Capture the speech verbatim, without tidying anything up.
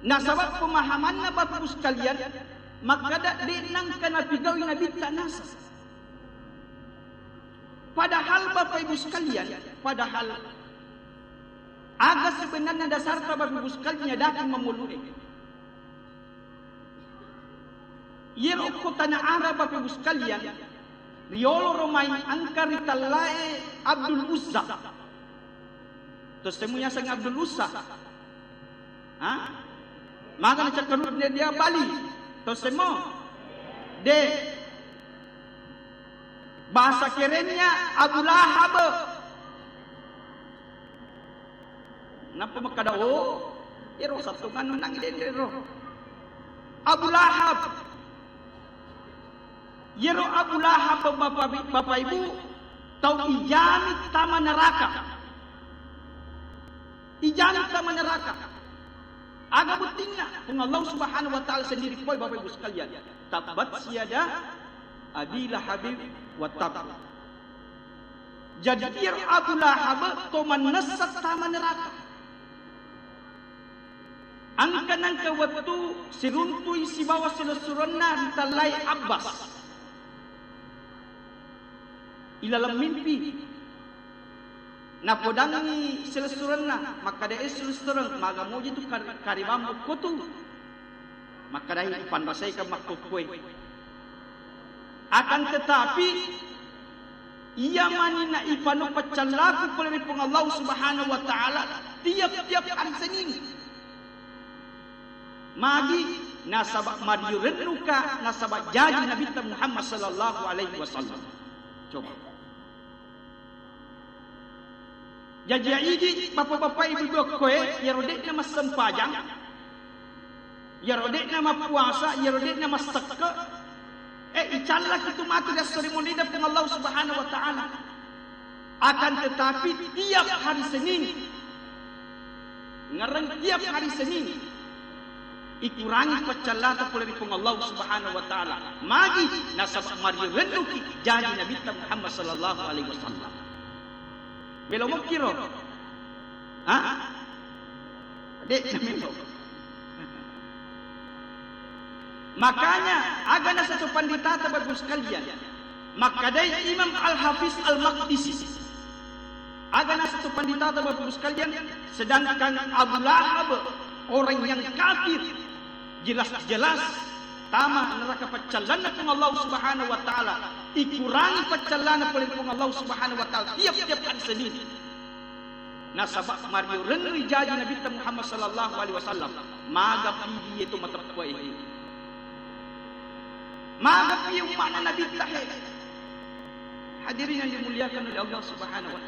Nasaba pemahamanna, Bapak Ibu sekalian, makkada de' nengka napigaui Nabitta naseng. Padahal, Bapak Ibu sekalian, padahal aga sebenarna dasarta, Bapak Ibu sekalian, nyadaki mamolue? Iyaro okko tana Arab, Bapak Ibu sekalian, riolo ro mai engka ritellae Abdul Uzza. Tossemu yaseng Abdul Uzza? Ha? Maga nacakkarudde dia Bali? Tossemu? De. Bahasa kerennya Abu Lahab. Nappa makkada, "Oh, ero sattungan nang dendero." Abu Lahab. Yero Abu Lahab, Bapak, Bapak Ibu, tau ijami tama neraka. Ijami tama neraka. Aga buttinna? Pung Allah Subhanahu wa Ta'ala sendiri poi, Bapak Ibu sekalian. Tabbat yada Abi Lahabin wa tabb. Jadi, iyaro Abu Lahab to mannessa tama neraka. Engka nengka wettu siruntui sibawa silessurenna ritellai Abbas. Ilaleng mimpi, napodangngi silessurenna, makkada, "Eh, silessureng, maga moji tu kar-, karibammu kotu?" Makkadai, "Ipanrasaikeng makkokkoe. Akan tetapi, iya mani na ipanu paccallaku pole ri Puang Allah Subhanahu wa Ta'ala tiap-tiap hari Senin." Magi? Nasaba mariyo rennuka, nasaba jaji Nabitta Muhammad sallallahu alaihi wasallam. Coba. Jaji, idi, bapak-bapak, ibu-ibu okkoe, iyaro de'na massempajang, iyaro de'na mappuasa, iyaro de'na massekke, eh, icallaki tu matu ri esso ri munrinna Puang Allah Subhanahu wa Ta'ala. Akan tetapi, tiap hari Senin, ngereng tiap hari Senin, ikurangi paccallata pole ri Puang Allah Subhanahu wa Ta'ala. Magi? Nasaba mariyo rennuki jaji Nabitta Muhammad sallallahu alaihi wasallam. Melo mokkiro? Ha? De' namelo. Makanya, aga naseng to panditata, Bapak Ibu sekalian, makkadai Imam Al-Hafiz Al-Maqdisi. Aga naseng to panditata, Bapak Ibu sekalian, sedangkan Abu Lahab, orang yang kafir, jelas-jelas tama neraka paccallanna Puang Allah Subhanahu wa Ta'ala, ikurangi paccallana pole Puang Allah Subhanahu wa Ta'ala tiap-tiap hari Senin. Nasaba mariyo rennu jaji Nabitta Muhammad sallallahu alaihi wasallam, maga pidi itu mateppe'e. Maga pi umma'na Nabitta he. Hadirin yang dimuliakan oleh Allah Subhanahu wa Ta'ala.